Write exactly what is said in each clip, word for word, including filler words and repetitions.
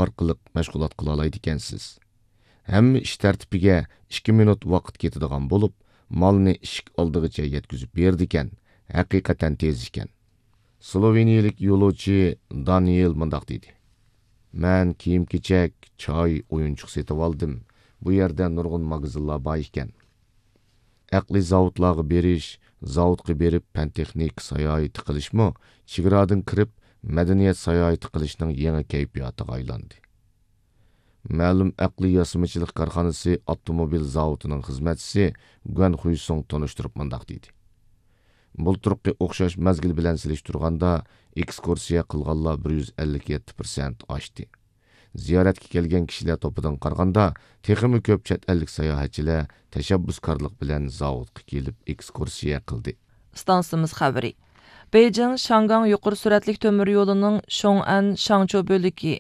ئارقىلىق مەشغۇلات قىلالايدىكەنسىز. ھەممە ئىش تەرتىپىگە ئىككى مىنۇت ۋاقىت كېتىدىغان بولۇپ، مالنى ئىشىك ئالدىغىچە يەتكۈزۈپ بېرىدىكەن، ھەقىقەتەن تېز ئىكەن. سلوۋېنىيىلىك يولۇچى دانىيېل مۇنداق دېدى: مەن كىيىم-كېچەك، چاي، ئويۇنچۇق سېتىۋالدىم. بۇ يەردە نۇرغۇن ماگىزىنلار بار ئىكەن. ئەقلىي زاۋۇتلارغا بېرىش، زاۋۇتقا بېرىپ پەن-تېخنىكا ساياھىتى قىلىشمۇ چېگرادىن كىرىپ مەدەنىيەت ساياھىتى قىلىشنىڭ يېڭى كەيپىياتىغا ئايلاندى. مەلۇم ئەقلىي ياسىمىچىلىق كارخانىسى ئاپتوموبىل زاۋۇتىنىڭ خىزمەتچىسى گۇەن خۇيسۇڭ تونۇشتۇرۇپ مۇنداق دېدى: بۇلتۇرقى ئوخشاش مەزگىل بىلەن سېلىشتۇرغاندا، ئېكسكۇرسىيە قىلغانلار بىر يۈز ئەللىك يەتتە پىرسەنت ئاشتى. زىيارەتكە كەلگەن كىشىلەر توپىدىن قارىغاندا، تېخىمۇ كۆپ چەت ئەللىك ساياھەتچىلەر تەشەببۇسكارلىق بىلەن زاۋۇتقا كېلىپ ئېكسكۇرسىيە قىلدى. ئىستانسىمىز خەۋىرى. بېيجىڭ شياڭگاڭ يۇقىرى سۈرئەتلىك تۆمۈر يولىنىڭ شيوڭئەن شاڭچۇ بۆلىكى،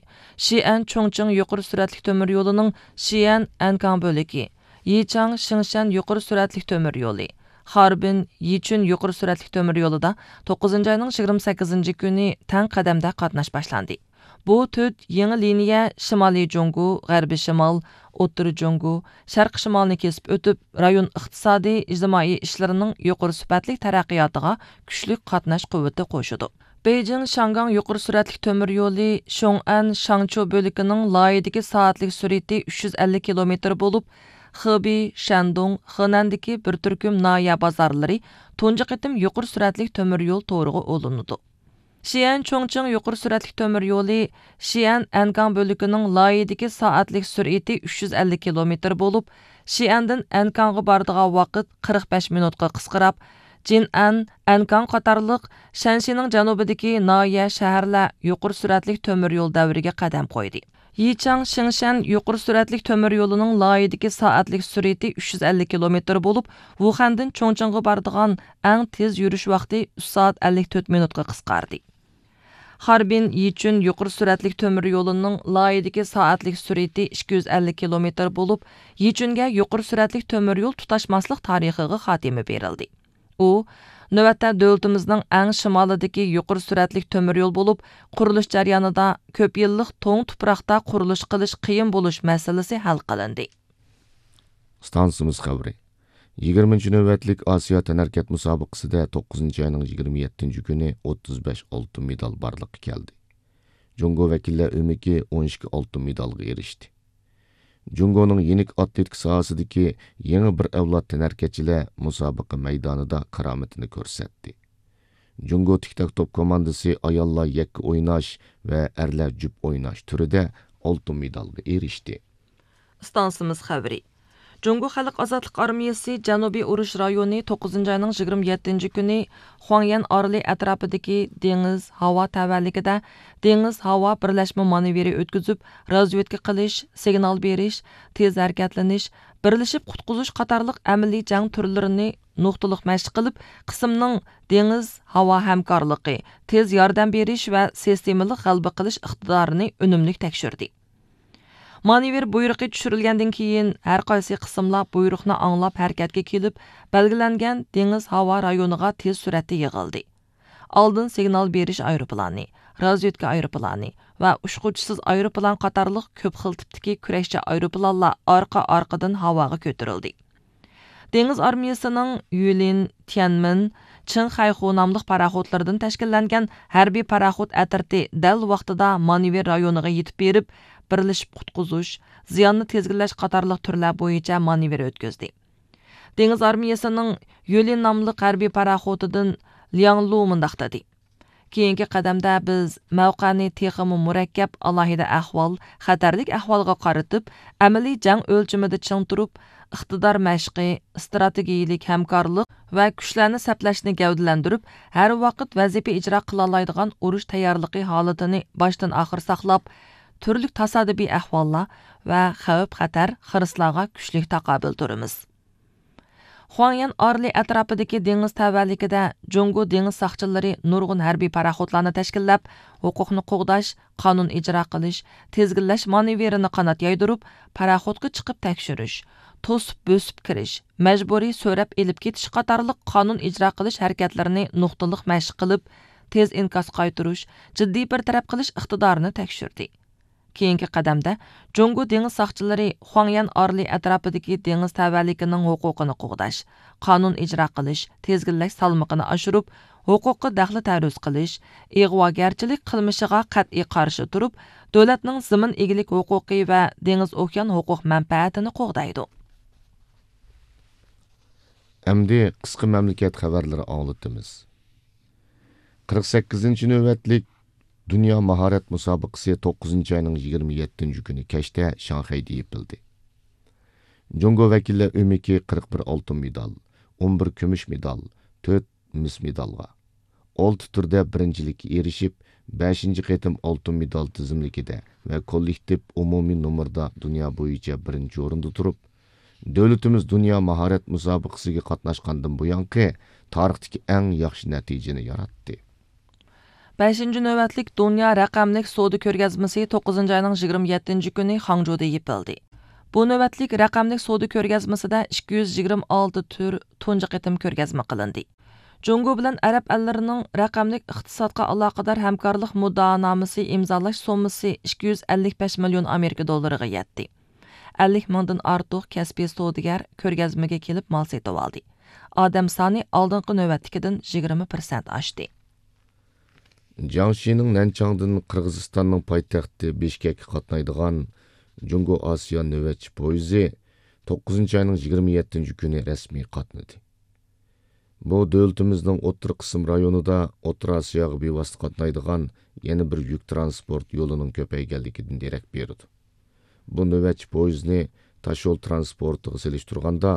شىئەن چۇڭچىڭ يۇقىرى سۈرئەتلىك تۆمۈر يولىنىڭ شىئەن ئەنكاڭ بۆلىكى، يىچاڭ شىڭشەن يۇقىرى سۈرئەتلىك تۆمۈر يولى، خاربىن يىچۈن يۇقىرى سۈرئەتلىك تۆمۈر يولىدا توققۇزىنچى ئاينىڭ يىگىرمە سەككىزىنچى كۈنى تەڭ قەدەمدە قاتناش باشلاندى. بۇ تۆت يېڭى لىنىيە شىمالىي جۇڭگو، غەربىي شىمال، ئوتتۇرا جۇڭگو، شەرقىي شىمالنى كېسىپ ئۆتۈپ، رايون ئىقتىسادىي، ئىجتىمائىي ئىشلىرىنىڭ يۇقىرى سۈپەتلىك تەرەققىياتىغا كۈچلۈك قاتناش قۇۋۋىتى قوشىدۇ. بېيجىڭ شياڭگاڭ يۇقىرى سۈرئەتلىك تۆمۈر يولى شيوڭئەن شاڭچۇ بۆلىكىنىڭ لايىھىدىكى سائەتلىك سۈرئىتى ئۈچ يۈز ئەللىك كىلومېتىر بولۇپ، خېبېي، شەندۇڭ، خېنەندىكى بىر تۈركۈم ناھىيە بازارلىرى تۇنجى قېتىم يۇقىرى سۈرئەتلىك تۆمۈر يول تورىغا ئۇلىنىدۇ. شىئەن چۇڭچىڭ يۇقىرى سۈرئەتلىك تۆمۈر يولى شىئەن ئەنكاڭ بۆلىكىنىڭ لايىھىدىكى سائەتلىك سۈرئىتى ئۈچ يۈز ئەللىك كىلومېتىر بولۇپ، شىئەندىن ئەنكاڭغا بارىدىغان ۋاقىت قىرىق بەش مىنۇتقا قىسقىراپ، جىنئەن، ئەنكاڭ قاتارلىق شەنشىنىڭ جەنۇبىدىكى ناھىيە، شەھەرلەر يۇقىرى سۈرئەتلىك تۆمۈر يول دەۋرىگە قەدەم قويدى. يىچاڭ شىڭشەن يۇقىرى سۈرئەتلىك تۆمۈر يولىنىڭ لايىھىدىكى سائەتلىك سۈرئىتى ئۈچ يۈز ئەللىك كىلومېتىر بولۇپ، ۋۇخەندىن چۇڭچىڭغا بارىدىغان ئەڭ تېز يۈرۈش ۋاقتى ئۈچ سائەت ئەللىك تۆت مىنۇتقا قىسقاردى. خاربىن يىچۈن يۇقىرى سۈرئەتلىك تۆمۈر يولىنىڭ لايىھىدىكى سائەتلىك سۈرئىتى ئىككى يۈز ئەللىك كىلومېتىر بولۇپ، يىچۈنگە يۇقىرى سۈرئەتلىك تۆمۈر يول تۇتاشماسلىق تارىخىغا خاتىمە بېرىلدى. ئۇ، نۆۋەتتە دۆلىتىمىزنىڭ ئەڭ شىمالىدىكى يۇقىرى سۈرئەتلىك تۆمۈر يول بولۇپ، قۇرۇلۇش جەريانىدا كۆپ يىللىق توڭ تۇپراقتا قۇرۇلۇش قىلىش قىيىن بولۇش مەسىلىسى ھەل قىلىندى. ئىستانسىمىز خەۋىرى. يىگىرمىنچى نۆۋەتلىك ئاسىيا تەنھەرىكەت مۇسابىقىسىدە توققۇزىنچى ئاينىڭ يىگىرمە يەتتىنچى كۈنى ئوتتۇز بەش ئالتۇن مېدال بارلىققا كەلدى. جۇڭگو ۋەكىللەر ئۆمىكى ئون ئىككى ئالتۇن مېدالغا ئېرىشتى. جۇڭگونىڭ يېنىك ئاتلېتىكا ساھەسىدىكى يېڭى بىر ئەۋلاد تەنھەرىكەتچىلەر مۇسابىقە مەيدانىدا كارامىتىنى كۆرسەتتى. جۇڭگو تىك تاك توپ كوماندىسى ئاياللار يەككە ئويناش ۋە ئەرلەر جۈپ ئويناش تۈرىدە ئالتۇن مېدالغا ئېرىشتى. ئىستانسىمىز خەۋىرى. جۇڭگو خەلق ئازادلىق ئارمىيىسى جەنۇبىي ئۇرۇش رايونى توققۇزىنچى ئاينىڭ يىگىرمە يەتتىنچى كۈنى خۇاڭيەن ئارىلى ئەتراپىدىكى دېڭىز، ھاۋا تەۋەلىكىدە دېڭىز، ھاۋا بىرلەشمە مانېۋىرى ئۆتكۈزۈپ، رازۋېدكا قىلىش، سىگنال بېرىش، تېز ھەرىكەتلىنىش، بىرلىشىپ قۇتقۇزۇش قاتارلىق ئەمەلىي جەڭ تۈرلىرىنى نۇقتىلىق مەشىق قىلىپ، قىسىمنىڭ دېڭىز، ھاۋا ھەمكارلىقى، تېز ياردەم بېرىش ۋە سىستېمىلىق غەلىبە قىلىش ئىقتىدارىنى ئۈنۈملۈك تەكشۈردى. مانېۋىر بۇيرۇقى چۈشۈرۈلگەندىن كېيىن، ھەر قايسى قىسىملار بۇيرۇقنى ئاڭلاپ ھەرىكەتكە كېلىپ، بەلگىلەنگەن دېڭىز ھاۋا رايونىغا تېز سۈرئەتتە يىغىلدى. ئالدىن سىگنال بېرىش ئايروپىلانى، رازۋېدكا ئايروپىلانى ۋە ئۇچقۇچىسىز ئايروپىلان قاتارلىق كۆپ خىل تىپتىكى كۈرەشچى ئايروپىلانلار ئارقا-ئارقىدىن ھاۋاغا كۆتۈرۈلدى. دېڭىز ئارمىيىسىنىڭ يۈلىن، تيەنمېن، چىڭ خەيخۇ ناملىق پاراخوتلىرىدىن تەشكىللەنگەن ھەربىي پاراخوت ئەترىتى دەل ۋاقتىدا مانېۋىر رايونىغا يېتىپ بېرىپ، بىرلىشىپ قۇتقۇزۇش، زىياننى تىزگىنلەش قاتارلىق تۈرلەر بويىچە مانېۋىر ئۆتكۈزدى. دېڭىز ئارمىيىسىنىڭ يۈلىن ناملىق ھەربىي پاراخوتىدىن لياڭ لۇ مۇنداق دېدى: كېيىنكى قەدەمدە بىز مەۋقەنى تېخىمۇ مۇرەككەپ، ئالاھىدە ئەھۋال، خەتەرلىك ئەھۋالغا قارىتىپ، ئەمەلىي جەڭ ئۆلچىمىدە چىڭ تۇرۇپ، ئىقتىدار مەشقى، ئىستراتېگىيىلىك ھەمكارلىق ۋە كۈچلەرنى سەپلەشنى گەۋدىلەندۈرۈپ، ھەر ۋاقىت ۋەزىپە ئىجرا قىلالايدىغان ئۇرۇش تەييارلىقى ھالىتىنى باشتىن ئاخىر ساقلاپ، تۈرلۈك تاسادىپىي ئەھۋاللار ۋە خەۋپ-خەتەر، خىرىسلارغا كۈچلۈك تاقابىل تۇرىمىز. خۇاڭيەن ئارىلى ئەتراپىدىكى دېڭىز تەۋەلىكىدە جۇڭگو دېڭىز ساقچىلىرى نۇرغۇن ھەربىي پاراخوتلارنى تەشكىللەپ، ھوقۇقنى قوغداش، قانۇن ئىجرا قىلىش، تىزگىنلەش مانېۋىرىنى قانات يايدۇرۇپ، پاراخوتقا چىقىپ تەكشۈرۈش، توسۇپ بۆسۈپ كىرىش، مەجبۇرىي سۆرەپ ئېلىپ كېتىش قاتارلىق قانۇن ئىجرا قىلىش ھەرىكەتلىرىنى نۇقتىلىق مەشىق قىلىپ، تېز ئىنكاس قايتۇرۇش، جىددىي بىر تەرەپ قىلىش ئىقتىدارىنى تەكشۈردى. كېيىنكى قەدەمدە جۇڭگو دېڭىز ساقچىلىرى خۇاڭيەن ئارىلى ئەتراپىدىكى دېڭىز تەۋەلىكىنىڭ ھوقۇقىنى قوغداش، قانۇن ئىجرا قىلىش، تىزگىنلەش سالمىقىنى ئاشۇرۇپ، ھوقۇققا دەخلى تەرۇز قىلىش، ئىغۋاگەرچىلىك قىلمىشىغا قەتئىي قارشى تۇرۇپ، دۆلەتنىڭ زېمىن ئىگىلىك ھوقۇقى ۋە دېڭىز ئوكيان ھوقۇق مەنپەئەتىنى قوغدايدۇ. ئەمدى قىسقا مەملىكەت خەۋەرلىرى ئاڭلىتىمىز. قىرىق سەككىزىنچى نۆۋەتلىك دۇنيا ماھارەت مۇسابىقىسى توققۇزىنچى ئاينىڭ يىگىرمە يەتتىنچى كۈنى كەچتە شاڭخەيدە يېپىلدى. جۇڭگو ۋەكىللەر ئۆمىكى قىرىق بىر ئالتۇن مېدال، ئون بىر كۈمۈش مېدال، تۆت مىس مېدالغا، ئالتە تۈردە بىرىنچىلىككە ئېرىشىپ، بەشىنچى قېتىم ئالتۇن مېدال تىزىملىكىدە ۋە كوللېكتىپ ئومۇمىي نومۇردا دۇنيا بويىچە بىرىنچى ئورۇندا تۇرۇپ، دۆلىتىمىز دۇنيا ماھارەت مۇسابىقىسىگە قاتناشقاندىن بۇيانقى تارىختىكى ئەڭ ياخشى نەتىجىنى ياراتتى. بەشىنچى نۆۋەتلىك دۇنيا رەقەملىك سودا كۆرگەزمىسى توققۇزىنچى ئاينىڭ يىگىرمە يەتتىنچى كۈنى خاڭجۇدا يېپىلدى. بۇ نۆۋەتلىك رەقەملىك سودا كۆرگەزمىسىدە ئىككى يۈز يىگىرمە ئالتە تۈر تۇنجى قېتىم كۆرگەزمە قىلىندى. جۇڭگو بىلەن ئەرەب ئەللىرىنىڭ رەقەملىك ئىقتىسادقا ئالاقىدار ھەمكارلىق مۇددىئانامىسى ئىمزالاش سوممىسى ئىككى يۈز ئەللىك بەش مىليون ئامېرىكا دوللىرىغا يەتتى. ئەللىك مىڭدىن ئارتۇق كەسپىي سودىگەر كۆرگەزمىگە كېلىپ مال سېتىۋالدى. ئادەم سانى ئالدىنقى نۆۋەتتىكىدىن يىگىرمە پىرسەنت ئاشتى. جياڭشىنىڭ نەنچاڭدىن قىرغىزىستاننىڭ پايتەختى بىشكەككە قاتنايدىغان جۇڭگو ئاسىيا نۆۋەتچى پويىزى توققۇزىنچى ئاينىڭ يىگىرمە يەتتىنچى كۈنى رەسمىي قاتنىدى. بۇ دۆلىتىمىزنىڭ ئوتتۇرا قىسىم رايونىدا ئوتتۇرا ئاسىياغا بىۋاسىتە قاتنايدىغان يەنە بىر يۈك تىرانسپورت يولىنىڭ كۆپەيگەنلىكىدىن دېرەك بېرىدۇ. بۇ نۆۋەتچى پويىزنى تاشيول تىرانسپورتىغا سېلىشتۇرغاندا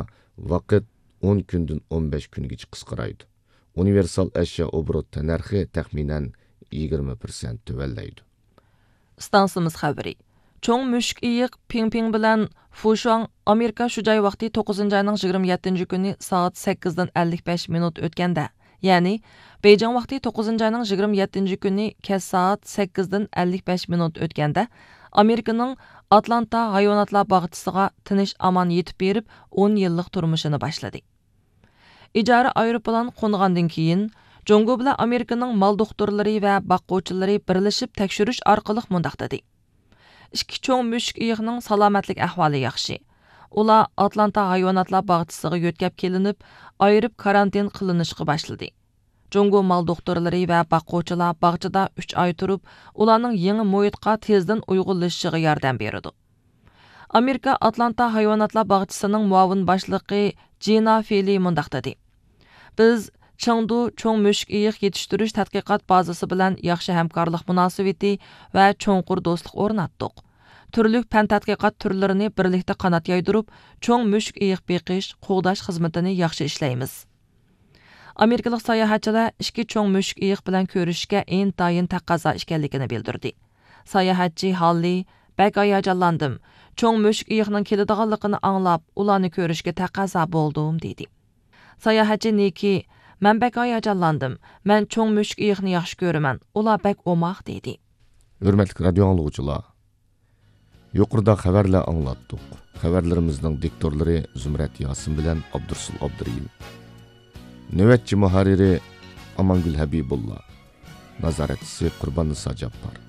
ۋاقىت ئون كۈندىن ئون بەش كۈنگىچە قىسقىرايدۇ. ئۇنىۋېرسال ئەشيا ئوبوروت تەننەرخى تەخمىنەن يىگىرمە پىرسەنت تۆۋەنلەيدۇ. ئىستانسىمىز خەۋىرى. چوڭ مۈشۈك ئېيىق پىڭ پىڭ بىلەن فۇشۇاڭ ئامېرىكا شۇجاي ۋاقتى توققۇزىنچى ئاينىڭ يىگىرمە يەتتىنچى كۈنى سائەت سەككىزدىن ئەللىك بەش مىنۇت ئۆتكەندە، يەنى بېيجىڭ ۋاقتى توققۇزىنچى ئاينىڭ يىگىرمە يەتتىنچى كۈنى كەچ سائەت سەككىزدىن ئەللىك بەش مىنۇت ئۆتكەندە، ئامېرىكىنىڭ ئاتلانتا ھايۋاناتلار باغچىسىغا تىنچ ئامان يېتىپ بېرىپ، ئون يىللىق تۇرمۇشىنى باشلىدى. ئىجارە ئايروپىلان قونغاندىن كېيىن، جۇڭگو بىلەن ئامېرىكىنىڭ مال دوختۇرلىرى ۋە باققۇچىلىرى بىرلىشىپ تەكشۈرۈش ئارقىلىق مۇنداق دېدى: ئىككى چوڭ مۈشۈك ئېيىقنىڭ سالامەتلىك ئەھۋالى ياخشى. ئۇلار ئاتلانتا ھايۋاناتلار باغچىسىغا يۆتكەپ كېلىنىپ، ئايرىپ كارانتىن قىلىنىشقا باشلىدى. جۇڭگو مال دوختۇرلىرى ۋە باققۇچىلار باغچىدا ئۈچ ئاي تۇرۇپ، ئۇلارنىڭ يېڭى مۇھىتقا تېزدىن ئۇيغۇنلىشىشىغا ياردەم بېرىدۇ. ئامېرىكا ئاتلانتا ھايۋاناتلار باغچىسىنىڭ مۇئاۋىن باشلىقى جىنا فېلى مۇنداق دېدى: بىز چېڭدۇ چوڭ مۈشۈك ئېيىق يېتىشتۈرۈش تەتقىقات بازىسى بىلەن ياخشى ھەمكارلىق مۇناسىۋىتى ۋە چوڭقۇر دوستلۇق ئورناتتۇق. تۈرلۈك پەن تەتقىقات تۈرلىرىنى بىرلىكتە قانات يايدۇرۇپ، چوڭ مۈشۈك ئېيىق بېقىش، قوغداش خىزمىتىنى ياخشى ئىشلەيمىز. ئامېرىكىلىق ساياھەتچىلەر ئىككى چوڭ مۈشۈك ئېيىق بىلەن كۆرۈشۈشكە ئىنتايىن تەقەززا ئىكەنلىكىنى بىلدۈردى. ساياھەتچى ھاللى: بەك ھاياجانلاندىم. چوڭ مۈشۈك ئېيىقنىڭ كېلىدىغانلىقىنى ئاڭلاپ، ئۇلارنى كۆرۈشكە تەقەززا بولدۇم، دېدى. ساياھەتچى نىكى: مەن بەك ھاياجانلاندىم. مەن چوڭ مۈشۈك ئېيىقنى ياخشى كۆرىمەن. ئۇلار بەك ئوماق، دېدى. ھۆرمەتلىك رادىيو ئاڭلىغۇچىلار، يۇقىرىدا خەۋەرلەر ئاڭلاتتۇق. خەۋەرلىرىمىزنىڭ دىكتورلىرى زۇمرەت ياسىن بىلەن ئابدۇرۇسۇل ئابدۇرېھىم. نۆۋەتچى مۇھەررىرى ئامانگۈل ھەبىبۇللا. نازارەتچىسى قۇرباننىسا جاپپار.